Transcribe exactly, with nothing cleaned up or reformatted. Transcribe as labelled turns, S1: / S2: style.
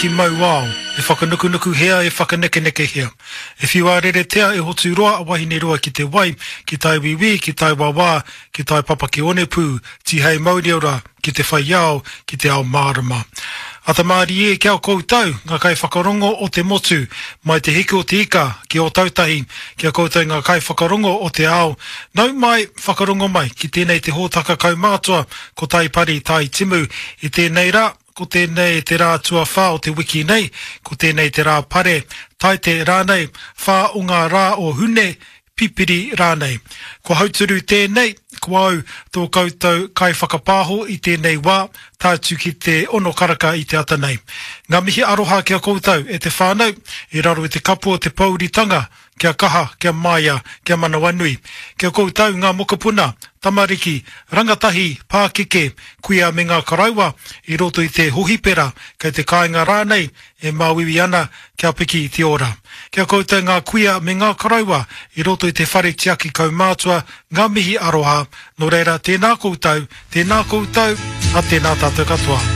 S1: ki Mauao, e whakanukunukuhia, e whakanekenekehia. E whiua reretea, e hoturoa a Wahineroa ki te wai, ki tai wiwi, ki tai wawā, ki tai papaki onepū, tihei mauriora, ki te whai ao, ki te ao mārama. Ata mārie kia koutou, ngā kai whakarongo o te motu, mai te hiku o te ika ki Ōtautahi, kia koutou ngā kai whakarongo o te ao. Nau mai, whakarongo mai, ki tēnei te hōtaka kaumātua, ko Taipari Tai Timu. I tēnei rā, ko tēnei te rā tuawhā o te wiki nei, ko tēnei te rā pare, taite rānei, whā o ngā rā o Hune, pipiri rānei. Ko hauturu tēnei, ko au tō koutou kai whakapāho i tēnei wā, tātu ki te ono karaka i te ata nei. Ngā mihi aroha kia koutou e te whānau, i raro i te kapu o te pouritanga, kia kaha, kia maia, kia manawanui. Kia koutou ngā mokopuna, tamariki, rangatahi, pākeke, kuia me ngā karaua, i roto i te hohipera, kei te kāinga rānei, e māuiui ana, kia piki te ora. Kia koutou ngā kuia me ngā karaua, i roto i te whare tiaki kaumātua, ngā mihi aroha, nō reira tēnā koutou, tēnā koutou, a tēnā tātou katoa.